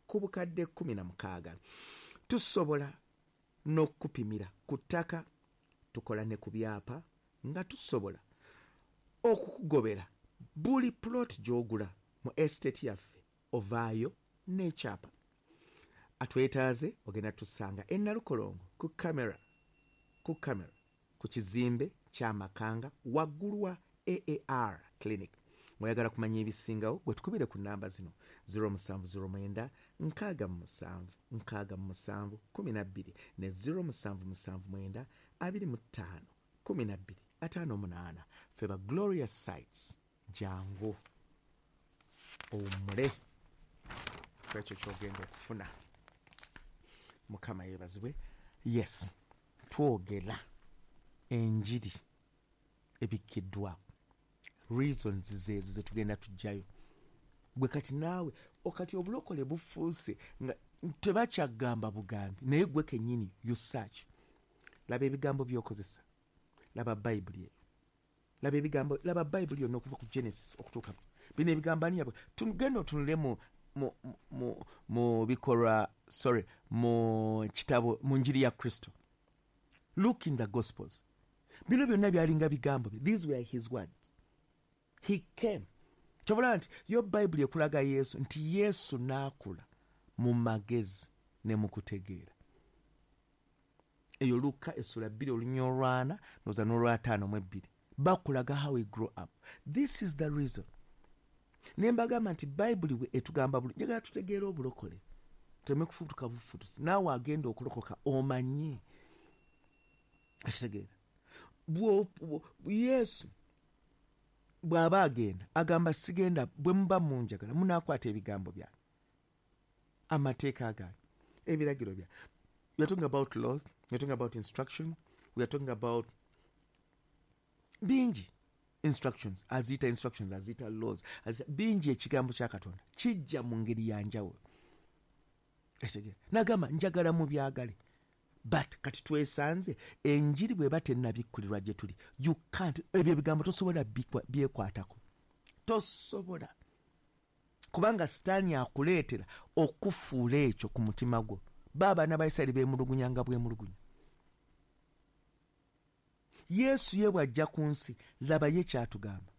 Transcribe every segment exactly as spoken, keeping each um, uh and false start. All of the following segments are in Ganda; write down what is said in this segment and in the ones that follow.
ku bukadde kkumi na mukaaga. Tusobola n'okupimira ku ttaka, tukola ne ku byapa, nga tusobola okukugobera buli plot gy'ogula mu estate yaffe ovaayo n'ekyapa. Atwetaaze ogenda tusanga e Nalukolongo ku kamera ku kamera ku kizimbe ky'Amakanga waggulu wa A A R Clinic. Mwayagala kumanya ebisingawo gwe tukubire ku namba zino zero musanvu zero mwenda nkaaga mu musanvu nkaaga mu musanvu kumi na bbiri ne zero musanvu musanvu mwenda abiri mu ttaano kumi na bbiri ataano munaana. Ffe ba Glorious Sites, jangu owummule kwekyo ky'ogenda okufuna. Mukama yeebazibwe. Yes, twogera enjiri ebikkiddwako, reasons zeezo ze tugenda tujjayo. Gwe kati naawe okati obulokole bufuuse nga tebakyagamba bugambi, naye gwe kennyini you search. Laba ebigambo by'okozesa, laba Bayibuli eyo, laba ebigambo, laba Bayibuli yonna okuva ku Genesis okutuuka bino ebigambo ani yabwe. Tugenda otunule mu mu mu mu bikolwa, sorry, mu kitabo, mu njiri ya Kristo. Look in the Gospels. Bino byonna byalinga bigambo bye. These were his words. He came. Kyovula nti yo Bayibuli ekulaga Yesu nti Yesu n'akula mu magezi ne mu kutegeera. Eyo Luka essula bbiri olunya olwana noza n'olwataano mu ebbiri bakulaga how we grow up. This is the reason. Ne mbagamba nti Bayibuli bwe etugamba buli njagala tutegeere obulokole, tuleme kufutuka bufutusi. Naawe agenda okulokoka omanye akitegeera. Yesu bw'aba agenda agamba sigenda, bwe muba munjagala munaakwata ebigambo byange, amateeka gange, ebiragiro byange. We are talking about laws, we are talking about instruction, we are talking about bingi instructions, aziyita instructions, aziyita laws, aziyita bingi. Ekigambo kya Katonda kijja mu ngeri ya njawulo. Nagamba njagala mubyagale, but kati twesanze enjiri bw'eba tennabikkulirwa gye tuli, you can't, ebyo ebigambo tosobola byekwatako, tosobola, kubanga Sitaani akuleetera okufuula ekyo ku mutima gwo. Ba abaana ba Isirayiri beemulugunya nga bwemulugunya. Yesu ye bw'ajja ku nsi, laba ye kyatugamba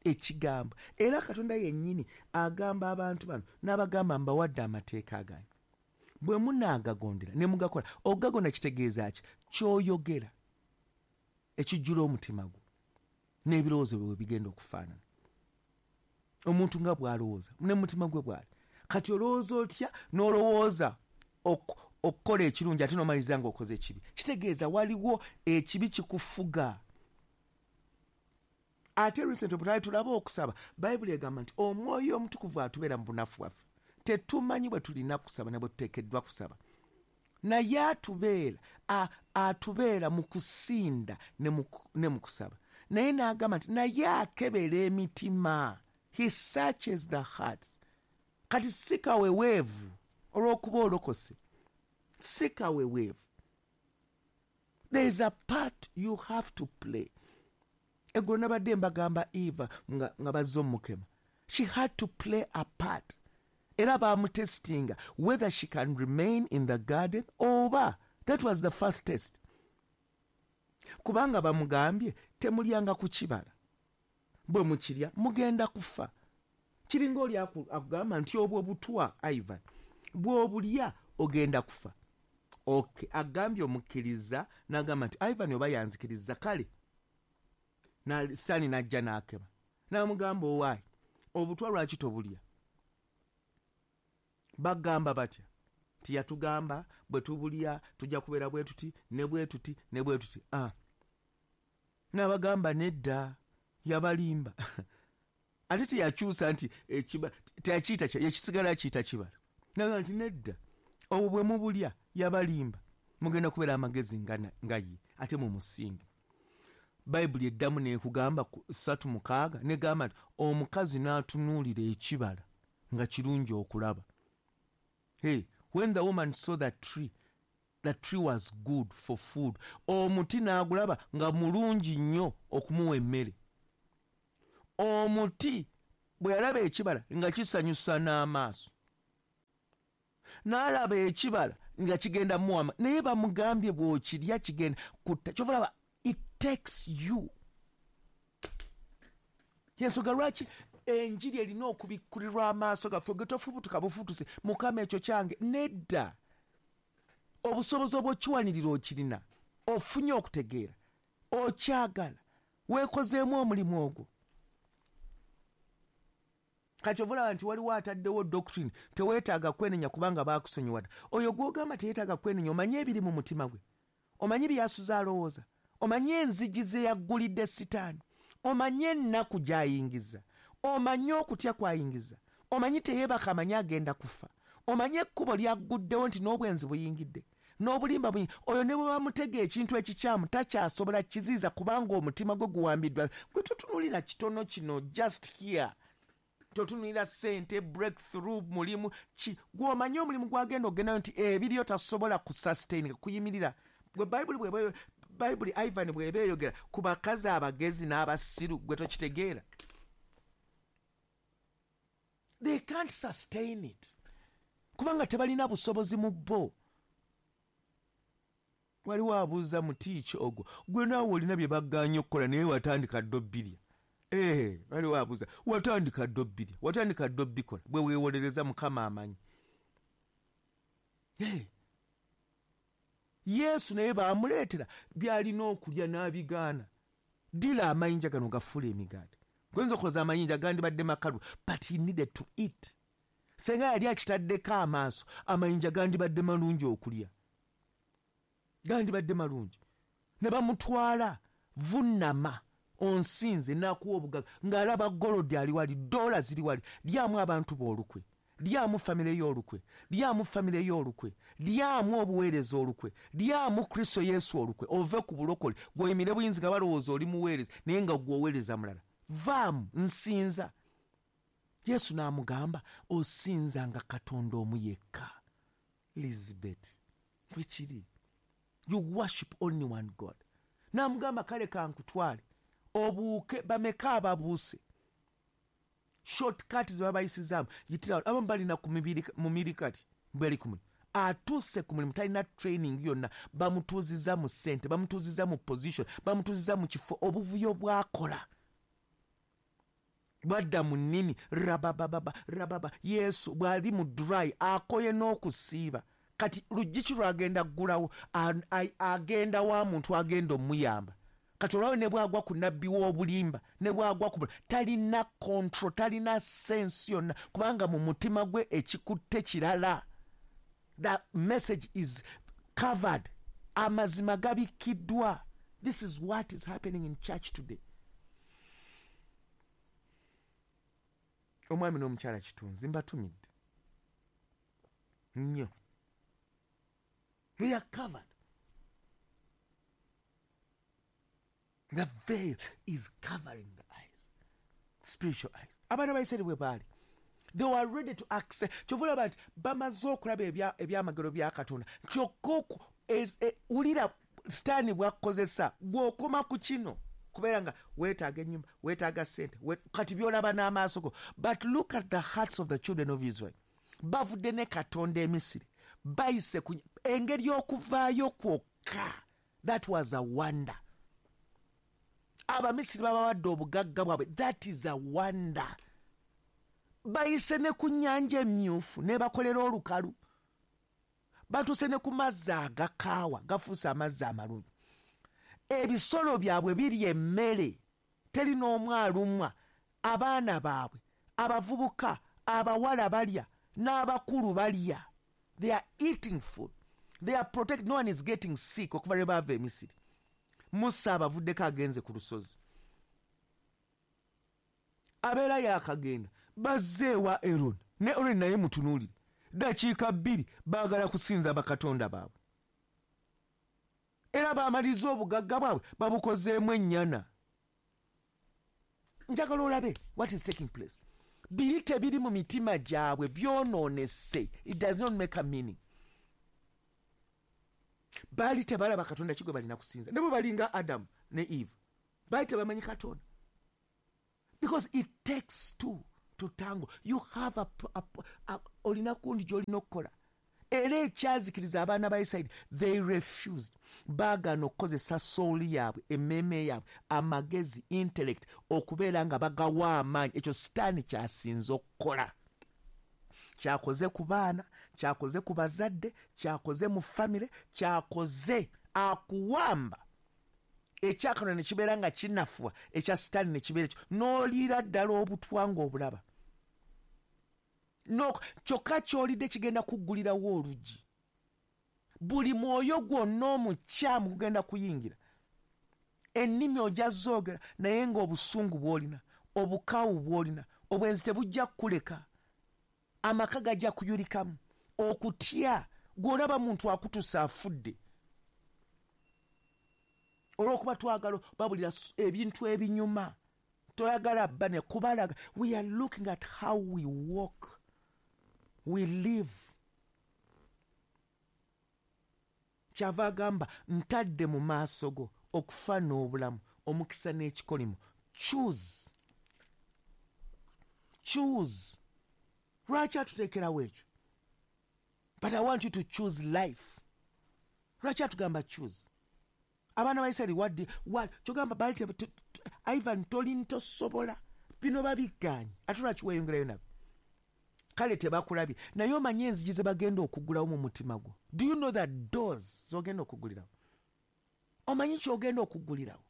ekigambo. Era Katonda yennyini agamba abantu bano n'abagamba mbawadde amateeka gange, bwe munaagagondera ne mugakola. Okugagonda kitegeeza ki? Ky'oyogera ekijjula omutima gwo n'ebirowoozo bwe bigenda okufaanana. Omuntu nga bw'alowooza ne mutima gwe bw'ali. Kati olowooza otya n'olowooza okukola ekirungi ate n'omaliriza ng'okoze ekibi? Kitegeeza waliwo ekibi kikufuga. Ate recent bwe twali tulaba okusaba, Bayibuli egamba nti Omwoyo Omutukuvu atubeera mu bunafu bwaffe. Tetumanyi bwe tulina kusaba ne bwe tuteekeddwa kusaba, naye atubeera atubeera mu kusinda ne mu kusaba. Naye n'agamba nti naye akebera emitima, he searches the hearts. Kati si kaweweevu olw'okuba olokose, si kaweweevu. There is a part you have to play. Eggulo nabadde mbagamba Eva nga, nga bazze omukema, she had to play a part. Era bamutestinga whether she can remain in the garden oba. That was the first test. Kubanga bamugambye temulyanga ku kibala, bwe mukirya mugenda kufa. Kiringa oli akugamba nti obwo butwa Ivan, bw'obulya ogenda kufa. Okay, agambye omukkiriza n'agamba nti Ivan oba yanzikiriza kale. Na Sitaani n'ajja n'akema n'amugamba owaayi obutwa lwaki tobulya? Bagamba batya nti yatugamba bwe tubulya tujja kubeera bwe tuti ne bwe tuti ne bwe tuti. Ah, n'abagamba nedda, yabalimba. Ate teyakyusa nti ekiba teyakiyita, yakisigala akiyita kibala. N'agamba nti nedda, obwo bwe mubulya yabalimba, mugenda kubeera amagezi nga ye ate mumusinge. Bayibuli eddamu n'ekugamba ssatu mukaaga negamba nti omukazi n'atunuulira ekibala nga kirungi okulaba. Hey, when the woman saw that tree, the tree was good for food. Omuti n'agulaba nga mulungi nnyo okumuwa emmere. Omuti bwe yalaba ekibala nga kisanyusa n'amaaso. N'alaba ekibala nga kigenda muwama, naye bamugambye bw'okirya kigenda kutta. Kyova olaba it takes you. Yensonga lwaki enjiri erina okubikkulirwa amaaso gaffe, ge tofubutuka bufutuse Mukama ekyo kyange. Nedda, obusobozi obw'okiwanirira okirina, ofunye okutegeera, okyagala, weekozeemu omulimu ogwo. Kati olaba nti waliwo ataddewo doctrine, teweetaaga kwenenya kubanga baakusonyiwa dda. Oyo gw'ogamba teyeetaaga kwenenya, omanye ebiri mu mutima gwe, omanye by'asuze alowooza, omanye enzigi ze yaggulidde sitaani, omanye ennaku gy'ayingiza, omanye okutya kw'ayingiza, omanyi teyeebaka, amanyi agenda kufa, omanye ekkubo lyagguddewo nti n'obwenzi buyingidde, n'obulimba buyingidde. Oyo ne bwe bamutega ekintu ekikyamu takyasobola kiziiza kubanga omutima gwe guwambiddwa. Gwe totunuulira kitono kino just here, totunuulira ssente, breakthrough, mulimu ki gw'omanyi omulimu gwagenda ogendayo nti ebiriyo tasobola kusustain, kuyimirira. Gwe Bayibuli bw'eba, Bayibuli Ivan bw'eba eyogera ku bakazi abagezi n'abasiru, gwe tokitegeera. They can't sustain it kubanga tebalina busobozi mu bo. Waliwo abuuza mutiiki ogwo, gwe naawe olina bye baggaanye okukola naye watandika dda obbirya. Eh, waliwo abuuza watandika dda obbirya, watandika dda obbikola, bwe weewolereza Mukama amanyi. Eh. Yesu naye baamuleetera by'alina okulya n'abigaana. Ddira amayinja gano gafuule emigaati. Goyinza okulowooza amayinja gandibadde makalu, but he needed to eat. Senga yali akitaddeko amaaso, amayinja gandibadde malungi okulya, gandibadde malungi. Ne bamutwala vunnama onsinze n'akuwa obugagga, ng'alaba golodi ali wali, dola ziri wali. Lyamu abantu b'olukwe, lyamu famire y'olukwe, lyamu famire y'olukwe, lyamu obuweereza olukwe, lyamu Kristo Yesu olukwe, ove ku bulokole gw'oyimire buyinzi nga balowooza oli muweereza naye nga gw'oweereza mulala. Vaamu, nsinza. Yesu n'amugamba osinzanga Katonda omu yekka. Elizabeth, bwe kiri, you worship only one God. N'amugamba kale kankutwale obuuke. Bameka ababuuse shortcut ze babayisizaamu, yitira abamu balina ku mibiri mu miri kati bali ku mulimu, atuuse ku mulimu talina training yonna, bamutuuziza mu ssente, bamutuuziza mu position, bamutuuziza mu kifo. Obuvuyo bwakola bwadda mu nnimi rabababa rababa. Yesu bw'ali mu dry akoye n'okusiiba, kati luggi ki lwagenda ggulawo? Agenda wa muntu agenda omuyamba. Kati olwawo ne bwagwa ku nabbi w'obulimba, ne bwagwa ku talina control, talina sense yonna, kubanga mu mutima gwe ekikutte kirala. The message is covered, amazima gabikkiddwa. This is what is happening in church today. Omwami n'omukyala Kitunzi mbatumidde nnyo. They are covered. The veil is covering the eyes, spiritual eyes. Abaana ba Isirayiri bwe baali, they were ready to accept. Kyova olaba nti bamaze okulaba ebyamagero bya Katonda, kyokka wulira sitaani bw'akukozesa bw'okoma ku kino kubeera nga weetaaga ennyumba, weetaaga ssente, kati by'olaba n'amaaso go. But look at the hearts of the children of Israel. Bavudde ne Katonda e Misiri, bayise ku engeri y'okuvaayo kwokka. That was a wonder. Abamisiri babawadde obugagga bwabwe, that is a wonder. Bayise ne ku nnyanja emyufu ne bakolera olukalu, batuuse ne ku mazzi agakaawa gafuuse amazzi amalungi. Ebisolo byabwe biri emmere, teri n'omu alumwa. Abaana baabwe abavubuka, abawala balya n'abakulu balya. They are eating food, they are protected, no one is getting sick okuva lwe baava e Misiri. Musa abavuddeko agenze ku lusozi, abeera yakagenda, bazze ewa Aaron, ne Aaron naye mutunuulire, dakiika bbiri baagala kusinza bakatonda baabwe. Era bamaliriza obugagga bwabwe babukozeemu ennyana. Njagala olabe what is taking place. Biri tebiri mu mitima gyabwe, byonoonese. It does not make a meaning. Baali tebalaba Katonda ki gwe balina kusinza, ne bwe balinga Adamu ne Eve, baali tebamanyi Katonda. Because it takes two to tango. You have a, a, a, olina kundi gy'olina okukola. Era ekyazikiriza abaana ba Isirayiri, they refused. Baagaana okukozesa soul yaabwe, emmeeme yaabwe, amagezi, intellect, okubeera nga bagawa amaanyi. Ekyo sitaani kyasinze okukola. Kyakoze ku baana, kyakoze ku bazadde, kyakoze mu famire, kyakoze akuwamba. Ekyakano ne kibeera nga kinafuwa, ekya sitaani ne kibeera ekyo. N'oliira ddala obutwa ng'obulaba. No, kyokka ky'olidde kigenda kuggulirawo oluggi. Buli mwoyo gwonna omukyamu gugenda kuyingira. Ennimi ojja zoogera naye ng'obusungu bw'olina, obukaawu bw'olina, obwenzi tebujja kukuleka. Amaka gajja kuyulikamu. Okutya, gw'olaba muntu akutusa afudde. Olw'okuba twagala babulira ebintu ebinyuma. Toyagala bane kubalaga. We are looking at how we walk. We live. Kyava agamba ntadde mu maaso go okufa n'obulamu, omukisa n'ekikolimo. Choose. Choose. Lwaki atuteekerawo ekyo? But I want you to choose life. Lwaki atugamba choose? Abaana ba Isirayiri wadde kyogamba bali Ivan toli tosobola bino babigaanye ate lwaki weeyongerayo nabo? Kale tebakulabye naye omanye enzigi ze bagenda okuggulawo mu mutima gwo. Do you know that doors z'ogenda okuggulirawo? Omanyi ky'ogenda okuggulirawo?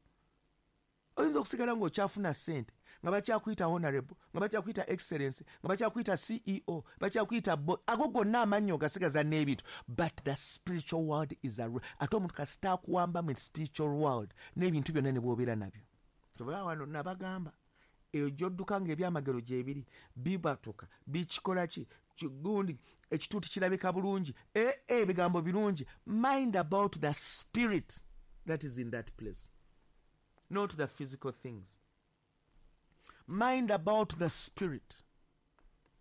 Oyinza okusigala ng'okyafuna ssente nga bakyakuyita honorable, nga bakyakuyita excellence, nga bakyakuyita C E O, bakyakuyita bo, ago gonna amannya ogasigaza n'ebintu. But the spiritual world is a ate omuntu kasita akuwamba mu spiritual world n'ebintu byonna ne bw'obeera nabyo. Tobala wano nabagamba eyo gy'odduka ng'ebyamagero gyebiri bibatuka bikikola ki gundi ekituuti kirabika bulungi e ebigambo birungi. Mind about the spirit that is in that place, not the physical things. Mind about the spirit.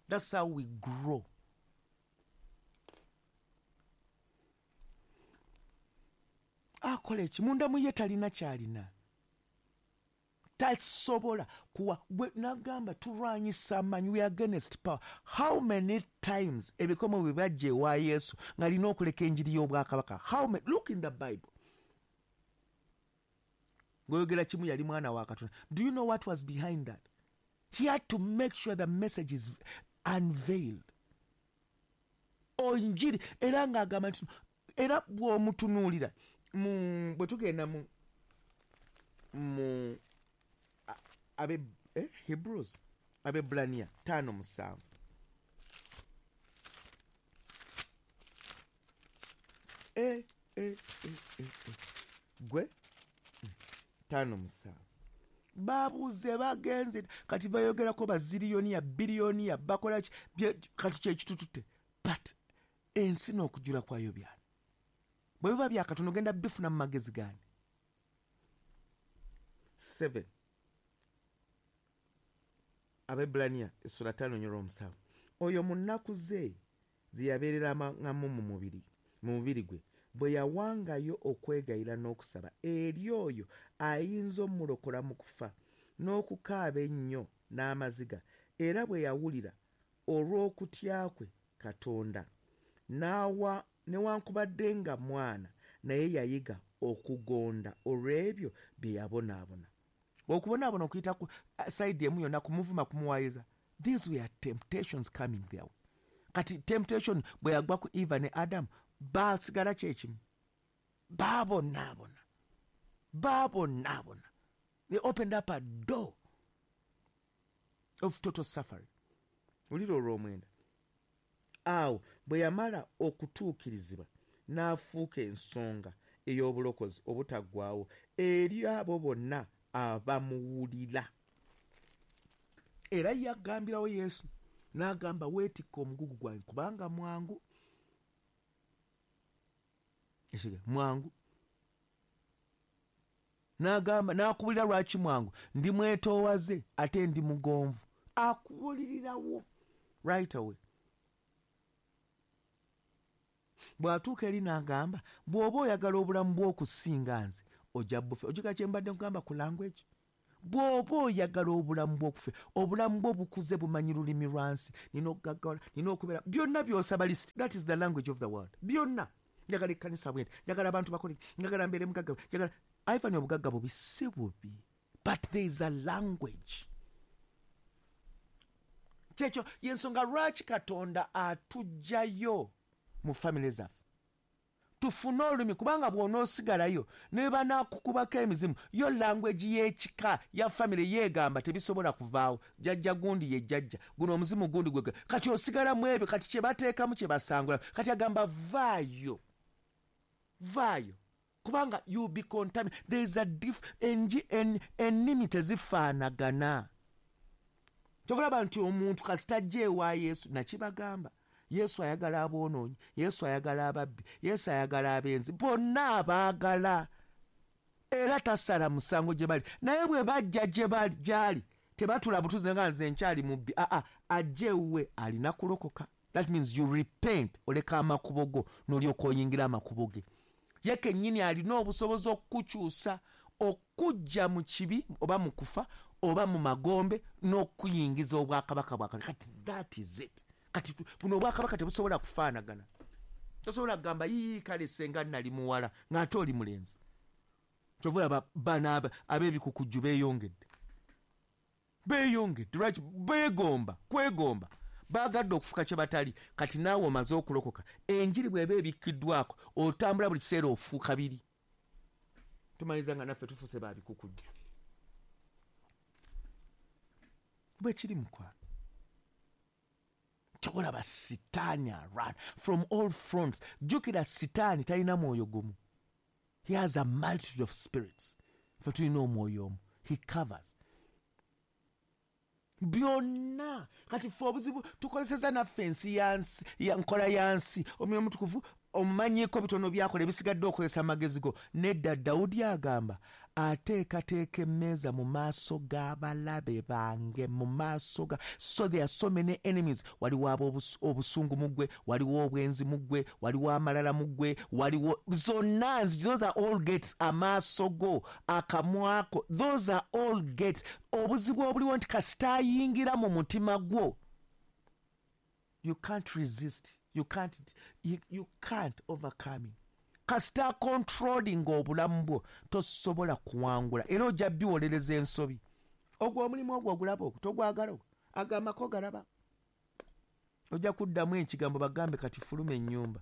That's how we grow. Akola eki munda mu ye talina kyalina. Tasobola kuwa. Nagamba tulwanyisa amaanyi. We are against power. How many times ebikomo bwe bajja ewa Yesu ng'alina okuleka enjiri y'obwakabaka? How many? Look in the Bible. Ng'oyogera kimu yali mwana wa Katonda. Do you know what was behind that? He had to make sure the message is unveiled. Onjiri era ng'agamba nti era bw'omutunuulira mu bwe tugenda mu mu abe eh, Hebrews Abebrania tano musanvu eh, eh, eh, eh, eh. Gwe tano musanvu babuze bagenze kati bayogerako baziliyoniya biliyoniya bakola kati kyekitutute but ensi n'okujula kwayo byani bwe biba bya Katonda ogenda bifuna mu magezi gani. Seven Abebrania essula ttaano nyolo omusanvu oyo mu nnaku ze ze yabeereramu mu mubiri mu mubiri gwe bwe yawangayo okwegayira n'okusaba eri oyo ayinza omulokola mu kufa n'okukaaba ennyo n'amaziga era bwe yawulira olw'okutya kwe Katonda n'awa newankubadde nga mwana naye yayiga okugonda olw'ebyo bye yabonaabona. Okubonaabona okuyita ku side emu yonna kumuvuma kumuwayiza. These were temptations coming their way. Kati temptation bwe yagwa ku Eva ne Adam baasigala kyekimu baabonaabona baabonaabona. They opened up a door of total suffering. Oliro olw'omwenda awo bwe yamala okutuukirizibwa n'afuuka ensonga ey'obulokozi obutaggwaawo eri abo bonna abamuwulira. Era yagambirawo Yesu n'agamba weetikka omugugu gwange kubanga mwangu ekige mwangu n'agamba n'akubulira lwaki mwangu ndi mwetoowaze ate ndi mugonvu. Akubulirirawo right away. Bw'atuuka eri n'agamba bw'oba oyagala obulamu bw'okusinga nze ojja bufe. Ojjuka kye mbadde nkugamba ku language. Bw'oba oyagala obulamu bw'okufe, obulamu bwo bukuze bumanyi lulimi lwa nsi. Nina okugaggawala, nina okubeera, byonna by'osaba list. That is the language of the world. Byonna. Njagala ekkanisa bwenti, njagala abantu bakole, njagala mbeere mugagga, njagala Ivan obugagga bubi si bubi. But there is a language. Kyekyo y'ensonga lwaki Katonda atuggyayo mu family zaffe. Tufune olulimi, kubanga bw'onoosigalayo ne banaakukubako emizimu, yo language y'ekika ya family yeegamba tebisobola kuvaawo. Jjajja gundi ye jjajja, guno omuzimu gundi gwe. Kati osigala mu ebyo, kati kye bateekamu kye basangula. Kati agamba vaayo, vaayo, kubanga you be contaminated. There is a diff, enji, en, ennimi tezifaanagana. Kyova nti omuntu kasita ajja ewa Yesu, nakibagamba, Yesu ayagala aboonoonyi, Yesu ayagala ababbi, Yesu ayagala abenzi, bonna abaagala, era tasala musango gye bali. Naye bwe bajja gye bali gy'ali, tebatula butuze nga nze nkyali mubbi. Aa, ajja ewuwe alina kulokoka. That means you repent, oleka amakubo go n'olyoka oyingira amakubo ge. Ye kennyini alina obusobozi okukukyusa, okujja mu kibi oba mu kufa oba mu magombe n'okuyingiza obwakabaka bwa Katonda. Kati that is it. Kati buno obwakabaka tebusobola kufaanagana. Tosobola kugamba yii kale senga nali muwala ng'ate oli mulenzi. Kyova olaba bano ab'ebikukujju beeyongedde, beeyongedde. Lwaki? Beegomba, kwegomba, baagadde okufuka kye batali. Kati naawe omaze okulokoka, enjiri bw'eba ebikkiddwako, otambula buli kiseera ofuuka biri. Tumaliriza nga naffe tufuuse ba bikukujju. Bwe kiri mukwano. Kyolaba Sitaani arun from all fronts. Jjukira Sitaani talina mwoyo gumu. He has a multitude of spirits. Ffe tulina omwoyo omu. He covers byonna. Kati ffe obuzibu tukozeseza naffe ensi ya nsi, ya nkola ya nsi. Omwoyo Omutukuvu omumanyiiko bitono byakola, ebisigadde okozesa amagezi go. Nedda, Dawudi agamba ateekateeka emmeeza mu maaso g'abalabe bange, mu maaso ga. So there are so many enemies. Waliwo obusungu mu ggwe, waliwo obwenzi mu ggwe, waliwo amalala mu ggwe, waliwo zonna. Those are all gates. Amaaso go, akamwako, those are all gates. Obuzibu obuliwo nti kasita ayingira mu mutima gwo, you can't resist, you can't, you, you can't overcome him. Kasita controlling obulamu bwo, tosobola kuwangula, era ojja biwolereza ensobi. Ogwo omulimu ogwo ogulaba ogwo togwagala, ogwo agambako galaba, ojja kuddamu ekigambo bagambe kati fuluma ennyumba.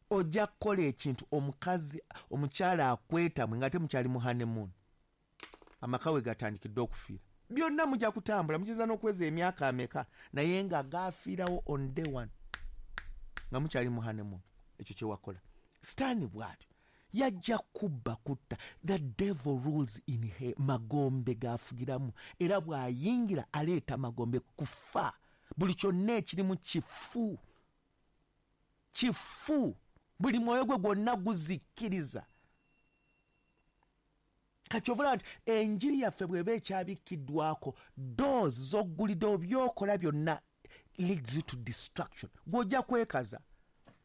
Ojja kukola ekintu omukazi omukyala akwetamwe nga temukyali mu honeymoon, amaka we gatandikidde okufiira. Byonna mujja kutambula, muyinza n'okuweza emyaka ameka, naye nga gafiirawo on day one nga mukyali mu honeymoon. Ekyo kye wakola. Sitaani bw'atyo yajja kubba kutta. The devil rules in he, magombe gafugiramu, era bw'ayingira aleeta magombe, kufa. Buli kyonna ekirimu kifu, kifu. Buli mwoyo gwe gwonna guzikkiriza. Kati ovula nti enjiri yaffe bw'eba ekyabikkiddwako, doors z'ogguliddewo, by'okola byonna leads you to destruction. Gw'ojja kwekaza,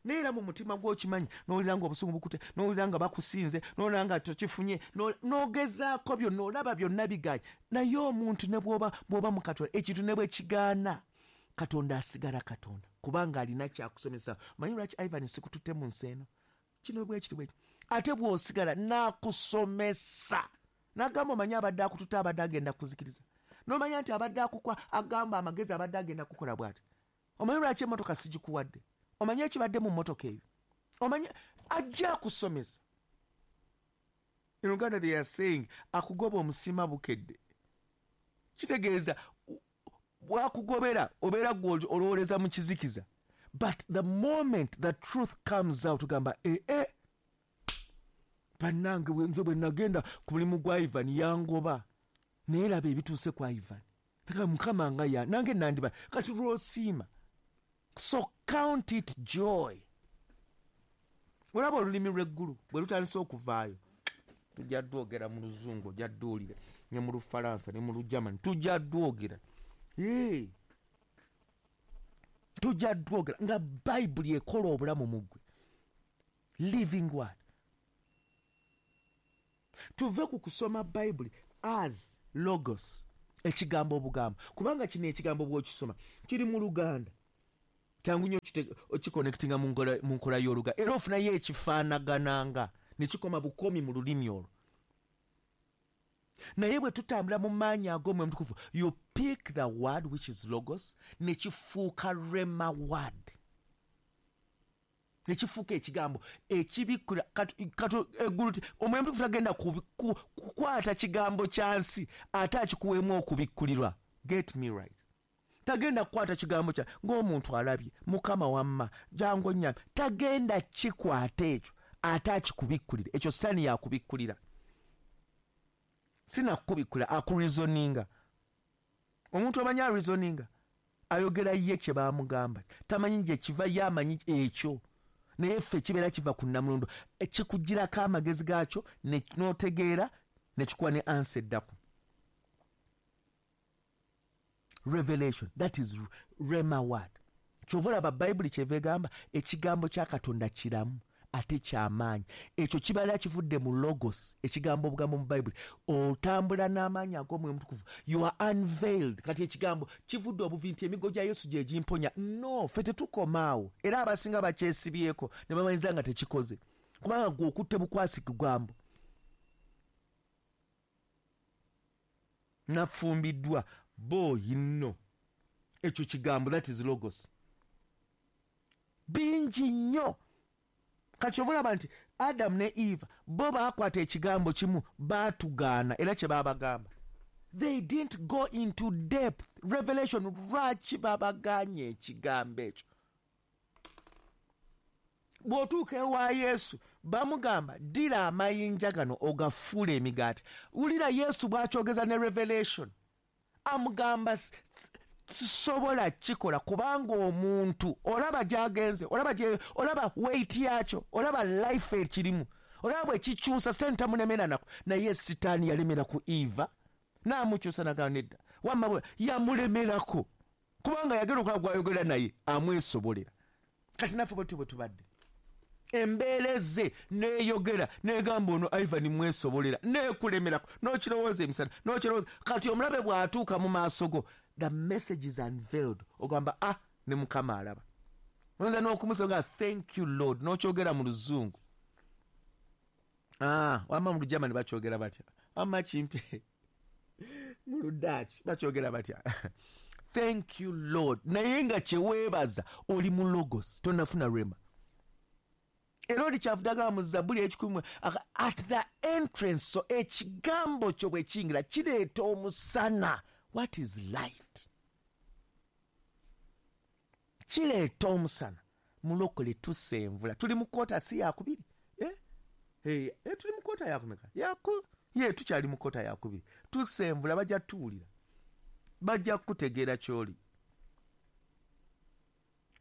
naye era mu mutima gw'okimanyi, n'owulira nga obusungu bukute, n'owulira nga bakusinze, n'owulira nga tokifunye, n'ogezaako byonna, olaba byonna bigaanye. Naye omuntu ne bw'oba bw'oba mu Katonda, ekintu ne bwe kigaana, Katonda asigala Katonda, kubanga alina kyakusomesa. Omanyi lwaki Ivan sikututte mu nsi eno? Kino bwe kiti bwe kiti. Ate bw'osigala n'akusomesa, n'agamba omanyi abadde akututte, abadde agenda kuzikiriza. N'omanya nti abadde akukwa, agamba amagezi abadde agenda kukola bw'ati. Omanyi lwaki emmotoka sigikuwadde? Omanyi ekibadde mu mmotoka eyo? Omanyi ajja akusomesa. In Uganda they are saying akugoba omusima bukedde. Kitegeeza bwakugobera obeera gwe olowoleza mu kizikiza. But the moment the truth comes out, ogamba eh eh, bannange nze bwe nagenda ku mulimu gwa Ivan yangoba, naye laba ebituuse kwa Ivan. Taka Mukama nga ya nange nandiba. Kati lw'osiima. So count it joy. Olaba olulimi lw'eggulu bwe lutandise okuvaayo, tujja dwogera mu Luzungu, ojja dduwulira, ne mu Lufalansa, ne mu Lugermany, tujja dwogera. Ee, tujja dwogera nga Bayibuli ekola obulamu mu ggwe. Living word. Tuve ku kusoma Bayibuli, As logos, ekigambo obugambo, kubanga kino ekigambo bw'okisoma kiri mu Luganda, kyangu nnyo okiconnectinga mu nkola y'Oluganda, era ofunayo ekifaanagananga ne kikoma bukomi mu lulimi olwo. Naye bwe tutambula mu maanyi ag'Omwoyo Omutukuvu, you pick the word which is logos, ne kifuuka rhema word, ne kifuuka ekigambo ekibikkula. Eggulu Omwoyo Omutukuvu tagenda kukwata kigambo kya nsi ate akikuweemu okubikkulirwa. Get me right. Tagenda kukwata kigambo kya ng'omuntu alabye Mukama wamma jangu onnyambe, tagenda kikwata ekyo ate akikubikkulira. Ekyo Sitaani yakubikkulira, sinakubikkula, akureasoninga. Omuntu amanyi areasoninga, ayogera ye kye baamugamba, tamanyi gye kiva, ye amanyi ekyo, naye ffe kibeera kiva ku nnamulondo, kikugirako amagezi gaakyo n'otegeera ne kikuwa ne ansa eddako. Revelation, that is rhema word. Kyova olaba Bayibuli kyeva egamba ekigambo kya Katonda kiramu ate kyamaanyi. Ekyo kibeera kivudde mu logos, ekigambo obugambo mu Bayibuli. Otambula n'amaanyi ag'Omwoyo Omutukuvu, you are unveiled. Kati ekigambo kivudde obuvi nti emigo gya Yesu gye gimponya. No, ffe tetukoma awo, era abasinga bakyesibyeko ne bamanyiza nga tekikoze, kubanga gwe okutte bukwasi kigambo. Nafumbiddwa boyi nno, ekyo kigambo, that is logos. Bingi nnyo. Kati olaba nti Adam ne Eva bo baakwata ekigambo kimu, baatugaana, era kye baabagamba. They didn't go into depth. Revelation, lwaki babagaanye ekigambo ekyo? Bw'otuuka ewa Yesu bamugamba ddira amayinja gano ogafuule emigaati. Wulira Yesu bw'akyogeza ne revelation, amugamba sisobola kikola kubanga omuntu olaba gy'agenze, olaba olaba weight yakyo, olaba life ekirimu, olaba bwe kikyusa. Sitaani tamulemera nako, naye Sitaani yalemera ku Eva n'amukyusa nagamba nedda, wamma bwe yamulemerako kubanga yagenda okulaba gw'ayogera naye amwesobolera. Kati naffe bwe bwe tubadde, embeera ezze neeyogera negamba ono Ivan mwesobolera, neekulemerako, n'okirowooza emisana, n'okirowooza. Kati omulabe bw'atuuka mu maaso go, the message is unveiled. Ogamba ah, ne Mukama alaba. Oyinza n'okumusaba thank you Lord, n'okyogera mu Luzungu. Ah, wamma mu Lugermany bakyogera batya? Wamma kimpe mu Ludutch bakyogera batya? Thank you Lord. Naye nga kye weebaza oli mu logos, tonnafuna rhema. Era oli kyavudde agamba mu Zabbuli ekikumi at the entrance, so ekigambo kyo bwe kiyingira kireeta omusana. What is light? Kireeta omusana. Mulokole tusenvula. Tuli mu kota si yakubiri. Eh? Hey, eh, tuli mu kota yakumeka. Yaku, ye tukyali mu kota yakubiri. Tusenvula bajja tuwulira. Bajja kutegeera ky'oli.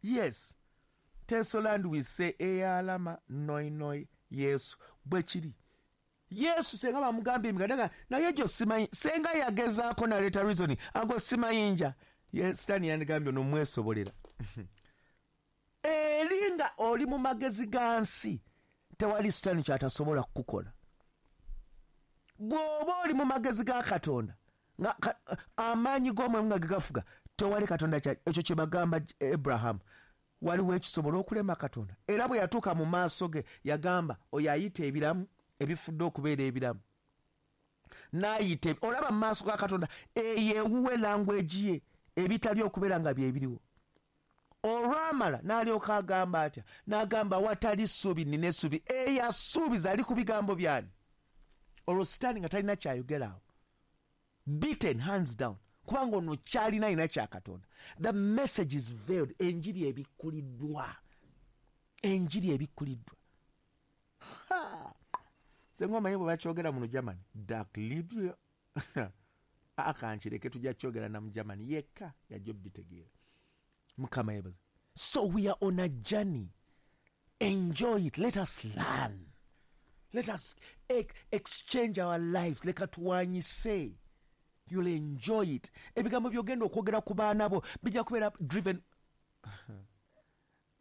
Yes. Tesoland we say eyalama noi noi Yesu bwe kiri. Yesu senga bamugambye emigaati naye gyo simanyi, senga yagezaako naleeta reason ago simayinja. Yes, Sitaani yandigambye ono mwesobolera. Eri nga oli mu magezi ga nsi, tewali Sitaani ky'atasobola kukukola. Bw'oba oli mu magezi ga Katonda, nga amaanyi g'Omwoyo nga gegafuga, tewali Katonda ekyo kye bagamba Abraham. Waliwo ekisobola okulema Katonda. Era bwe yatuuka mu maaso ge yagamba oyo ayita ebiramu ebifudde okubeera ebiramu, n'ayita olaba mu maaso ga Katonda eyo ewuwe language ye ebitali okubeera nga byebiriwo. Olwamala n'alyoka agamba atya? N'agamba watali ssuubi nnina essuubi. Eyasuubiza ali ku bigambo byani? Olwo Sitaani nga talina kyayogera awo, beaten hands down, kubanga ono kyalina alina kya Katonda. The message is veiled. Enjiri ebikkuliddwa, enjiri ebikkuliddwa. Senga omanyi bwe bakyogera mu Lugermany, dark Libya. Akankireke tujja kyogera na mu Germany yekka yajja obitegeera. Mukama yeebaze. So we are on a journey. Enjoy it. Let us learn. Let us exchange our lives. Leka tuwanyise. You'll enjoy it. Ebigambo by'ogenda okwogera ku baana bo bijja kubeera driven.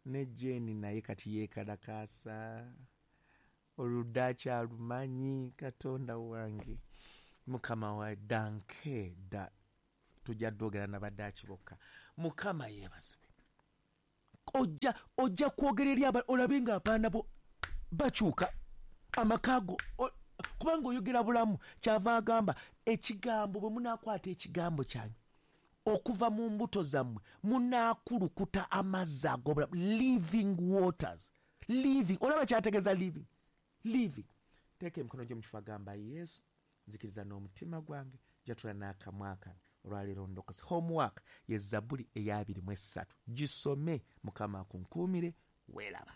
Ne Jane naye kati yeekalakaasa. Oluddaaki alumanyi, Katonda wange. Mukama wa danke da tujja dogera n'abadaaki bokka. Mukama yeebazibwe. Ojja ojja kwogera eri olabe nga abaana bo bakyuka amaka go, kubanga oyogera bulamu. Kyava agamba ekigambo, bwe munaakwata ekigambo kyange okuva mu mbuto zammwe munaakulukuta amazzi ag'obulamu, living waters. Living, olaba kyategeeza living. Living. Teeka emikono gyo mu kifo, agamba Yesu, nzikiriza n'omutima gwange, jatula n'akamwa kange, olwaleero ndokose. Homework ye Zabbuli ey'abiri mu essatu, gisome. Mukama akunkuumire. Weeraba.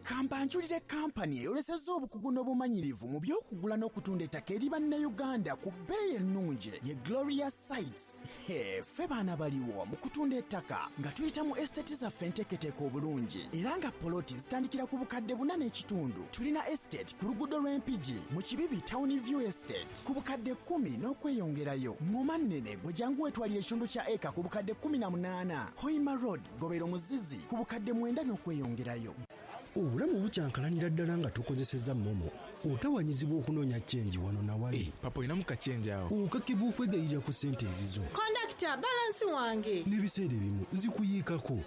Kambanjulire kampani eyolesezza obukugu n'obumanyirivu mu by'okugula n'okutunda ettaka eri Bannayuganda ku bbeeyi ennungi, ye Gloria Sites. Ffe baana baliwo mu kutunda ettaka nga tuyita mu estate zaffe enteeketeeke obulungi, era nga poloti zitandikira ku bukadde buna n'ekitundu. Tulina estate ku luguudo lw'Empigi mu Kibibi, Town View Estate, ku bukadde kkumi n'okweyongerayo. Ŋŋoma nnene, gwe jangu weetwalira ekitundu kya eka ku bukadde kkumi na munaana. Hoima Road, Gobero Muzizi, ku bukadde mwenda n'okweyongerayo. Obulamu bukyankalanira ddala nga tukozesezza MoMo. Otawanyizibwa okunoonya change wano nawali. Papa, olinamu ka change awo? Okakibwa okwegayirira ku ssente ezizo. Kondakita, balance wange. N'ebiseera ebimu zikuyiikako,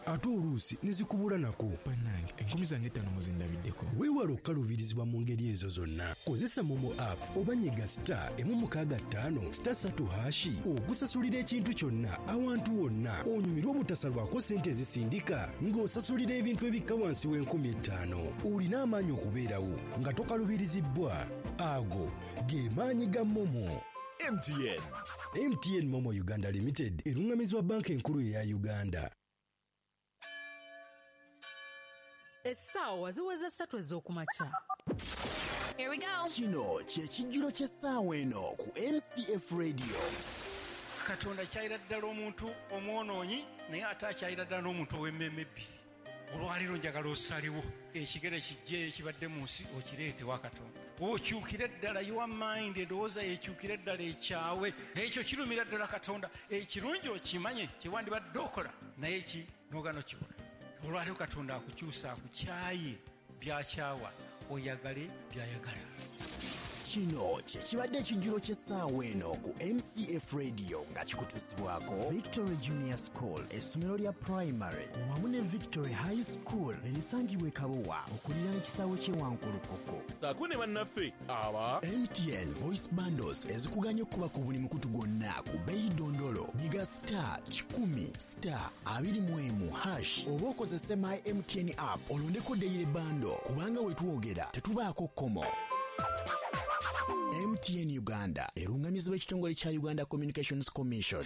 ate oluusi ne zikubula nako. Bannange, enkumi zange ttaano muzindabiddeko. Weewala okukaluubirizibwa mu ngeri ezo zonna. Kozesa MoMo app oba nyiga star emu mukaaga ttaano star ssatu hash okusasulira ekintu kyonna awantu wonna, onyumirwe obutasalwako ssente ezisindika ng'osasulira ebintu ebikka wansi w'enkumi ettaano. Olina amaanyi okubeerawo nga tokalubirizibbwa. Ago ge maanyi ga MoMo. M T N. M T N MoMo Uganda Limited eruŋŋamizibwa Banka Enkulu eya Uganda. Essaawa ziweze ssatu ez'okumakya. Here we go. Kino kye kijjulo ky'essaawa eno ku M C F Radio. Katonda kyayira ddala omuntu omwonoonyi, naye ate akyayira ddala n'omuntu ow'emmeeme ebbiri. Olwaleero njagala osalewo ekigere kijje ekibadde mu nsi okireete wa Katonda, okyukire ddala your mind, endowooza yekyukire ddala ekyawe. Ekyo kirumira ddala Katonda. Ekirungi okimanye kyewandibadde okola, naye ki n'ogaana okikola. Olwaleero Katonda akukyusa, akukyaye byakyawa, oyagale byayagala. Kino kye kibadde ekijjulo ky'essaawa eno ku M C F Radio nga kikutuusibwako Victory Junior School, essomero lya primary, wamu ne Victory High School erisangibwa e Kabowa okuliraana ekisaawe ky'e Wankulukuku. Saako ne bannaffe aba M T N Voice Bundles ezikuganya okuba ku buli mukutu gwonna ku bbeeyi dondolo. Nyiga star kikumi star abiri mu emu hash oba okozese My M T N app olondeko daily bundle, kubanga we twogera tetubaako kkomo. M T N Uganda erungamizibwa ekitongole kya Uganda Communications Commission.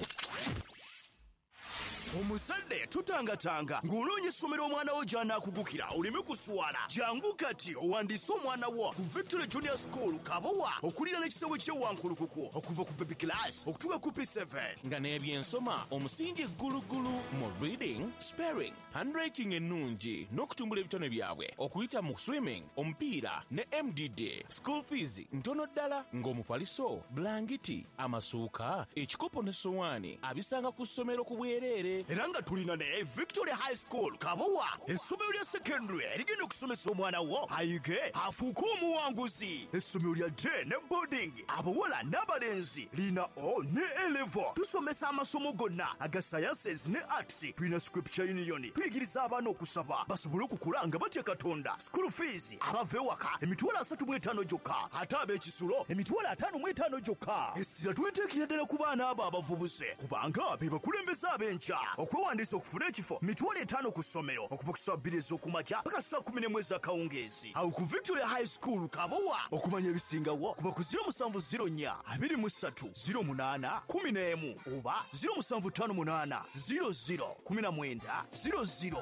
Omuzadde tutangatanga ng'onoonya essomero omwana wo gy'anaakugukira oleme kuswala. Jangu kati owandiise omwana wo ku Victory Junior School Kabowa okuliraana ekisaawe ky'e Wankulukuku, okuva ku baby class okutuuka ku P seven. Nga n'ebyensoma omusingi ggulugulu mu reading, spelling, handwriting ennungi n'okutumbula ebitone byabwe okuyita mu swimming, omupiira ne M D D. School fees ntono ddala, ng'omufaliso, bulangiti, amasuuka, ekikopo ne sowaani abisanga ku ssomero ku bwereere. Era nga tulina ne Victory High School Kabowa, essomero lya secondary erigenda okusomesa omwana wo ayige afuuke omuwanguzi, essomero lya day ne boarding, abawala n'abalenzi, lina O ne A level. Tusomesa amasomo gonna aga sciences ne arts. Tulina scripture union, tuyigiriza abaana okusaba basobole okukula nga batya Katonda. School fees abava ewaka emitwalo asatu mu etaano gyokka, ate ab'ekisulo emitwalo ataano mu etaano gyokka. Essira tuliteekera ddala ku baana abo abavubuse, kubanga be bakulembeze ab'enkya. Okwewandiisa okufuna ekifo mitwalo etaano ku ssomero, okuva ku ssaawa bbiri ez'okumakya paka ssaawa kumi n'emu ez'akawungeezi awo ku Victoria High School Kabowa. Okumanya ebisingawo kuba ku zero musanvu zero nnya abiri mu ssatu zero munaana kumi n'emu oba zero musanvu ttaano munaana zero zero kumi na mwenda zero zero.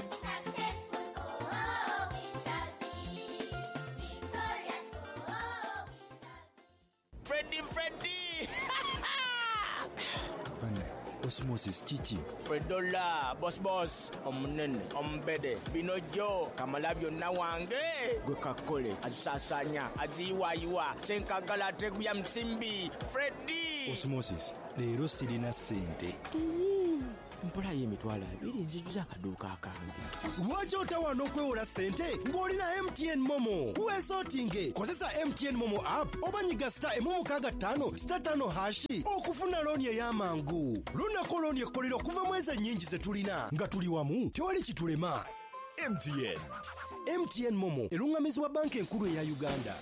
Successful, oh, we shall be. Victorious, oh, we shall be. Freddy, Freddy! Banne, Osmosis kiki? Fredola, boss boss, omunene, omubede, binojo, kamala byonna wange. Gwe kakole, azisaasaanya, aziyiwaayiwa, senkagala ateguya musimbi, Freddy! Osmosis, leero sirina ssente. Mpolayo emitwalo abiri nzijuza akaduuka akange. Lwaki otawaana okwewola ssente ng'olina M T N MoMo? Weesootinge, kozesa M T N MoMo app oba nyiga star emu mukaaga ttaano star ttaano hash okufuna looni ey'amangu. Lunako looni ekkolera okuva mu ezo ennyingi ze tulina. Nga tuli wamu, tewali kitulema. M T N. M T N MoMo eruŋŋamizibwa Banka Enkulu eya Uganda.